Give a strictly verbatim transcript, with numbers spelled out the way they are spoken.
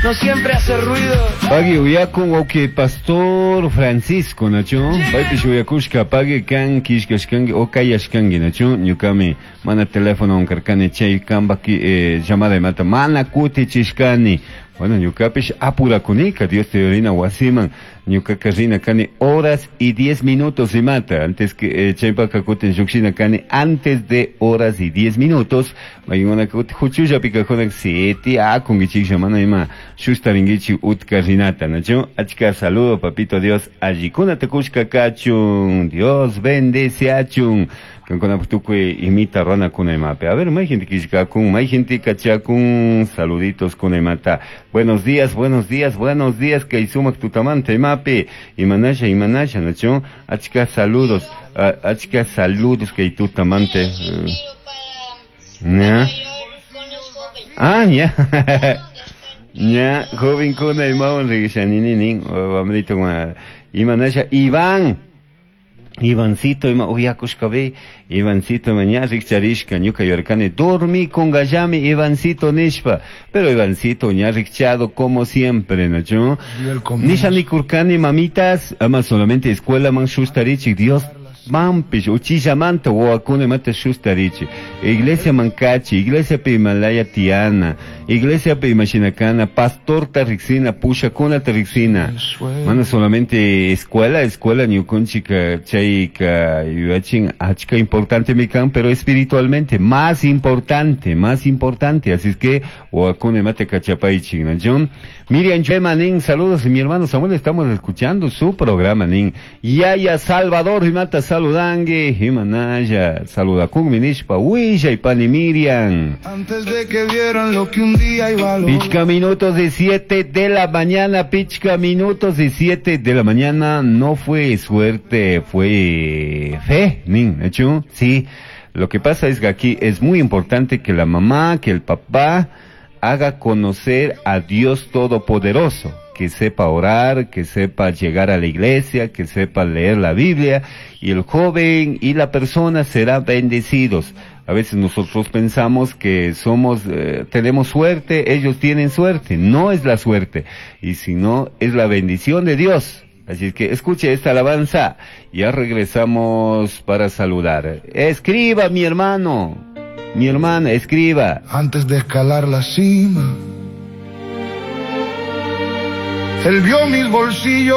No siempre hace ruido. Pagui uyakun wawqi Pastor Francisco, nachu? Paypish uyakushka pagui kan kishkashkanki o kayashkanki, nachu? Ñukami mana teléfono karkani chay kambaki eh, llamada imata mana kutichishkani. Bueno, ñukapish apurakunika, Dios te rina wasiman, ñukaka rina kani horas y diez minutos imata, antes que eh, chaypaka kutin llukshina kani antes de horas y diez minutos, maykuna kutin huchullapi kajuna siete akunkichiklla mana ima shustarinkichik utka rinata, nachu? Achka saludo, papito Dios, allikunata kushka kachun, Dios bendice achun. Kankuna tukuy imita runakuna imapi. A ver, may gente kishkakun, may gente kachakun, saluditos kuna imata. Buenos días, buenos días, buenos días, kay sumak tutamanta imapi. Imanasha, imanasha, nachu? Achka saludos, uh, achka saludos kay tutamante. Uh, ¿Ya? Ah, ya. Ya, joven kuna imawan regishanini nin, wamrito imanasha, Iván. Ivancito ima uyakushka Ivancito ima ña rikcharishka ñuka yuyarkani dormi kungallami Ivancito nishpa, pero Ivancito ña rikchado como siempre, ¿no? Nisha nikurkani mamitas, ama solamente escuela man shustarichik, Dios mampish uchillamanta wawakuna imata shustarichik, iglesia mankachi, iglesia pi imalaya tiana, iglesia pi imashinakana, pastorta riksina, pushakunata riksina, mana solamente escuela, escuela ñukunchika chayka yuyachin achka importante mi kan, pero espiritualmente más importante, más importante, así es que wawakuna imata kachapaychik, ¿no? Miriam Chema, nin, saludos, mi hermano Samuel, estamos escuchando su programa, nin. Yaya Salvador, imata saludangue, imanaya, saludakun, nishpa, huilla y pani Miriam. Antes de que vieran lo que un día iba a lograr. Pichca minutos de siete de la mañana, pichca minutos de siete de la mañana, no fue suerte, fue fe, nin, ¿hecho? Sí, lo que pasa es que aquí es muy importante que la mamá, que el papá haga conocer a Dios Todopoderoso, que sepa orar, que sepa llegar a la iglesia, que sepa leer la Biblia, y el joven y la persona serán bendecidos. A veces nosotros pensamos que somos, eh, tenemos suerte, ellos tienen suerte. No es la suerte, y si no, es la bendición de Dios. Así es que escuche esta alabanza, ya regresamos para saludar. Escriba, mi hermano, mi hermana, escriba. Antes de escalar la cima, él vio mis bolsillos.